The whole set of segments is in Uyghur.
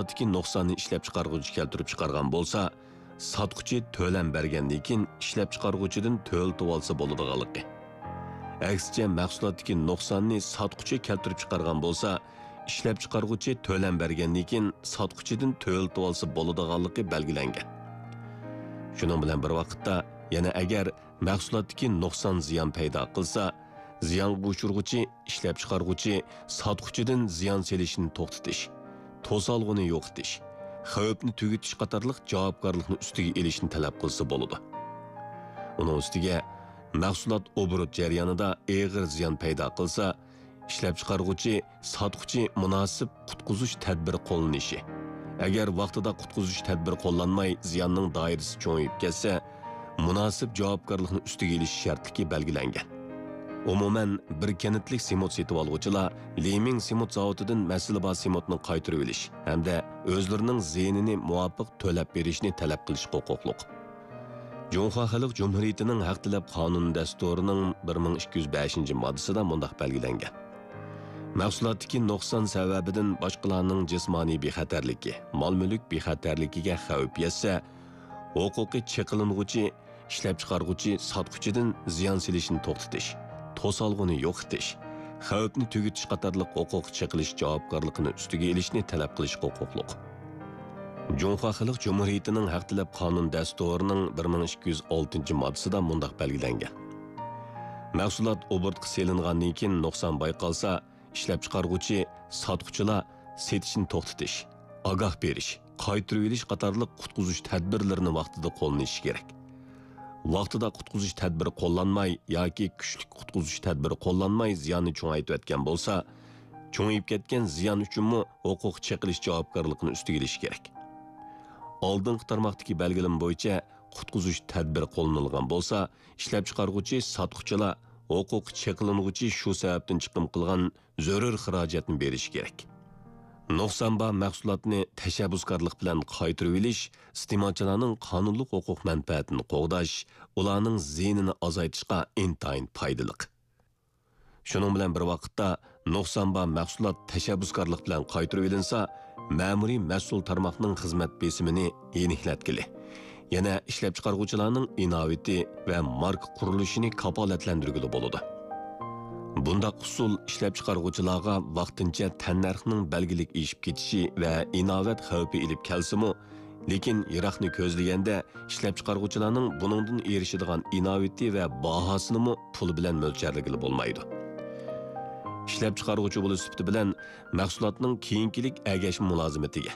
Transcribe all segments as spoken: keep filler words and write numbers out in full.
مەھسۇلاتتىكى نۇقساننى ئىشلەپچىقارغۇچى كەلتۈرۈپ چىقارغان بولسا، ساتقۇچى تۆلەم بەرگەندىن كېيىن ئىشلەپچىقارغۇچىدىن تۆلىتىۋالسا بولىدىغانلىقى. ئەكسىچە، مەھسۇلاتتىكى نۇقساننى ساتقۇچى كەلتۈرۈپ چىقارغان بولسا، ئىشلەپچىقارغۇچى تۆلەم بەرگەندىن كېيىن ساتقۇچىدىن تۆلىتىۋالسا بولىدىغانلىقى بەلگىلەنگەن. شۇنىڭ بىلەن بىر ۋاقىتتا، يەنە ئەگەر مەھسۇلاتتىكى نۇقسان زىيان پەيدا قىلسا، زىيانغا ئۇچرىغۇچى، ئىشلەپچىقارغۇچى، ساتقۇچىدىن زىيان سېلىشنى توختىتىش، توسالغۇنى يوقىتىش، خەۋپنى تۈگىتىش قاتارلىق جاۋابكارلىقنى ئۈستىگە ئېلىشنى تەلەپ قىلسا بولىدۇ. ئۇنىڭ ئۈستىگە، مەھسۇلات ئوبوروت جەريانىدا ئېغىر زىيان پەيدا قىلسا، ئىشلەپچىقارغۇچى، ساتقۇچى مۇناسىپ قۇتقۇزۇش تەدبىرى قوللىنىشى. ئەگەر ۋاقتىدا قۇتقۇزۇش تەدبىرى قوللانماي، زىياننىڭ دائىرىسى چوڭىيىپ كەتسە، مۇناسىپ جاۋابكارلىقنى ئۈستىگە ئېلىش شەرتلىكى بەلگىلەنگەن. ئومۇمەن، بىر كەنتلىك سېمونت سېتىۋالغۇچىلار لىمىڭ سېمونت زاۋۇتىدىن مەسىلە بار سېمونتنى قايتۇرۇۋېلىش ھەمدە ئۆزلىرىنىڭ زىيىنىنى مۇۋاپىق تۆلەپ بېرىشنى تەلەپ قىلىشقا ھوقۇقلۇق. جۇڭخۇا خەلق جۇمھۇرىيىتىنىڭ ھەق تەلەپ قانۇن دەستۇرىنىڭ بىر مىڭ ئىككى يۈز بەشىنچى ماددىسىدا مۇنداق بەلگىلەنگەن: مەھسۇلاتتىكى نۇقسان سەۋەبىدىن باشقىلارنىڭ جىسمانىي بىخەتەرلىكى، مال-مۈلۈك بىخەتەرلىكىگە خەۋپ يەتسە، ھوقۇقى چېقىلىنغۇچى ئىشلەپچىقارغۇچى ساتقۇچىدىن زىيان سېلىشنى توختىتىش، توسالغۇنى يوقىتىش، خەۋپنى تۈگىتىش قاتارلىق ھوقۇق چېقىلىش جاۋابكارلىقىنى ئۈستىگە ئېلىشنى تەلەپ قىلىشقا ھوقۇقلۇق. جۇڭخۇا خەلق جۇمھۇرىيىتىنىڭ ھەق تەلەپ قانۇن دەستۇرىنىڭ بىر مىڭ ئىككى يۈز ئالتىنچى ماددىسىدا مۇنداق بەلگىلەنگەن: مەھسۇلات ئوبوروتقا سېلىنغاندىن كېيىن نۇقسان بايقالسا، ئىشلەپچىقارغۇچى، ساتقۇچىلار سېتىشنى توختىتىش، ئاگاھ بېرىش، قايتۇرۇۋېلىش قاتارلىق قۇتقۇزۇش تەدبىرلىرىنى ۋاقتىدا قوللىنىشى كېرەك. ۋاقتىدا قۇتقۇزۇش تەدبىرى قوللانماي ياكى كۈچلۈك قۇتقۇزۇش تەدبىرى قوللانماي زىياننى چوڭايتىۋەتكەن بولسا، چوڭىيىپ كەتكەن زىيان ئۈچۈنمۇ ھوقۇق چېقىلىش جاۋابكارلىقىنى ئۈستىگە ئېلىشى كېرەك. ئالدىنقى تارماقتىكى بەلگىلىمە بويىچە قۇتقۇزۇش تەدبىرى قوللىنىلغان بولسا، ئىشلەپچىقارغۇچى، ساتقۇچىلار ھوقۇق چېقىلىنغۇچى شۇ سەۋەبتىن چىقىم قىلغان زۆرۈر خىراجەتنى بېرىشى كېرەك. نۇقسان بار مەھسۇلاتنى تەشەببۇسكارلىق بىلەن قايتۇرۇۋېلىش ئىستېمالچىلارنىڭ قانۇنلۇق ھوقۇق مەنپەئەتىنى قوغداش، ئۇلارنىڭ زىيىنىنى ئازايتىشقا ئىنتايىن پايدىلىق. شۇنىڭ بىلەن بىر ۋاقىتتا، نۇقسان بار مەھسۇلات تەشەببۇسكارلىق بىلەن قايتۇرۇۋېلىنسا، مەمۇرىي مەسئۇل تارماقنىڭ خىزمەت بېسىمىنى يېنىكلەتكىلى، يەنە ئىشلەپچىقارغۇچىلارنىڭ ئىناۋىتى ۋە ماركا قۇرۇلۇشىنى كاپالەتلەندۈرگىلى بولىدۇ. بۇنداق ئۇسۇل ئىشلەپچىقارغۇچىلارغا ۋاقتىنچە تەننەرخنىڭ بەلگىلىك ئېشىپ كېتىشى ۋە ئىناۋەت خەۋپى ئېلىپ كەلسىمۇ، لېكىن يىراقنى كۆزلىگەندە، ئىشلەپچىقارغۇچىلارنىڭ بۇنىڭدىن ئېرىشىدىغان ئىناۋىتى ۋە باھاسىنىمۇ پۇل بىلەن مۆلچەرلىگىلى بولمايدۇ. ئىشلەپچىقارغۇچى بولۇش سۈپىتى بىلەن مەھسۇلاتنىڭ كېيىنكىلىك ئەگەشمە مۇلازىمىتىگە،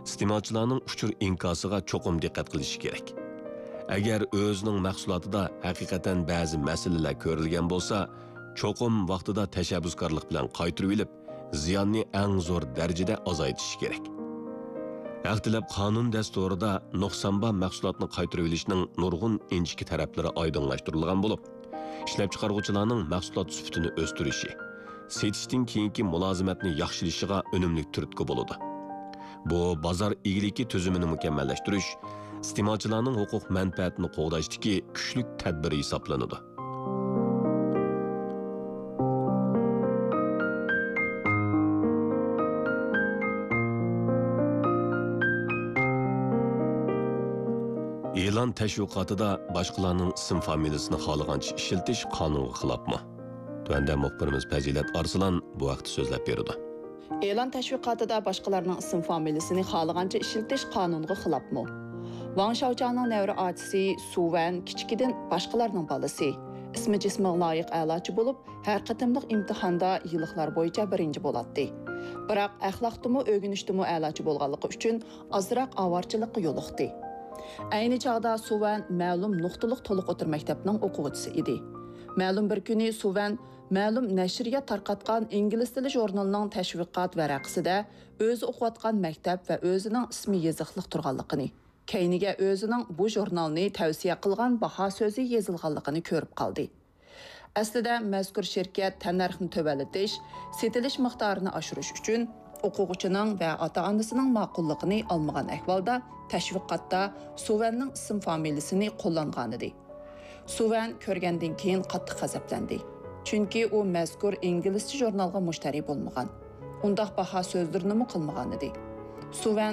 ئىستېمالچىلارنىڭ ئۇچۇر ئىنكاسىغا چوقۇم دىققەت قىلىشى كېرەك. ئەگەر ئۆزىنىڭ مەھسۇلاتىدا ھەقىقەتەن بەزى مەسىلىلەر كۆرۈلگەن بولسا، چوقۇم ۋاقتىدا تەشەببۇسكارلىق بىلەن قايتۇرۇۋېلىپ، زىياننى ئەڭ زور دەرىجىدە ئازايتىشى كېرەك. ھەق تەلەپ قانۇن دەستۇرىدا نۇقسان بار مەھسۇلاتنى قايتۇرۇۋېلىشنىڭ نۇرغۇن ئىنچىكە تەرەپلىرى ئايدىڭلاشتۇرۇلغان بولۇپ، ئىشلەپچىقارغۇچىلارنىڭ مەھسۇلات سۈپىتىنى ئۆستۈرۈشى، سېتىشتىن كېيىنكى مۇلازىمەتنى ياخشىلىشىغا ئۈنۈملۈك تۈرتكە بولىدۇ. بۇ بازار ئىگىلىكى تۈزۈمىنى مۇكەممەللەشتۈرۈش، ئىستېمالچىلارنىڭ ھوقۇق مەنپەئەتىنى قوغداشتىكى كۈچلۈك تەدبىر ھېسابلىنىدۇ. ئېلان تەشۋىقاتىدا باشقىلارنىڭ ئىسىم فامىلىسىنى خالىغانچە ئىشلىتىش قانۇنغا خىلاپمۇ؟ تۆۋەندە مۇخبىرىمىز پەزىلەت ئارسلان بۇ ھەقتە سۆزلەپ بېرىدۇ. ئېلان تەشۋىقاتىدا باشقىلارنىڭ ئىسىم فامىلىسىنى خالىغانچە ئىشلىتىش قانۇنغا خىلاپمۇ؟ ۋاڭ شاۋچياڭنىڭ نەۋرە ئاچىسى سۇ ۋەن كىچىكىدىن باشقىلارنىڭ بالىسى، ئىسمى جىسمىغا لايىق ئەلاچى بولۇپ، ھەر قېتىملىق ئىمتىھاندا يىللىقلار بويىچە بىرىنچى بولاتتى. بىراق ئەخلاقتىمۇ، ئۆگىنىشتىمۇ ئەلاچى بولغانلىقى ئۈچۈن ئازراق ئاۋارىچىلىققا يولۇقتى. ئەينى چاغدا سۇ ۋەن مەلۇم نۇقتىلىق تولۇق ئوتتۇرا مەكتەپنىڭ ئوقۇغۇچىسى ئىدى. مەلۇم بىر كۈنى سۇ ۋەن مەلۇم نەشرىيات تارقاتقان ئىنگلىز تىلى ژۇرنىلىنىڭ تەشۋىقات ۋەرەقىسىدە ئۆزى ئوقۇۋاتقان مەكتەپ ۋە ئۆزىنىڭ ئىسمى يېزىقلىق تۇرغانلىقىنى، كەينىگە ئۆزىنىڭ بۇ ژۇرنالنى تەۋسىيە قىلغان باھا سۆزى يېزىلغانلىقىنى كۆرۈپ قالدى. ئەسلىدە مەزكۇر شىركەت تەننەرخنى تۆۋەنلىتىش، سېتىلىش مىقدارىنى ئاشۇرۇش ئۈچۈن ئوقۇغۇچىنىڭ ۋە ئاتا-ئانىسىنىڭ ماقۇللۇقىنى ئالمىغان ئەھۋالدا تەشۋىقاتتا سۇ ۋەننىڭ ئىسىم فامىلىسىنى قوللانغانىدى. سۇ ۋەن كۆرگەندىن كېيىن قاتتىق غەزەپلەندى. چۈنكى ئۇ مەزكۇر ئىنگلىزچە ژۇرنالغا مۇشتەرى بولمىغان، ئۇنداق باھا سۆزلىرىنىمۇ قىلمىغانىدى. سۇ ۋەن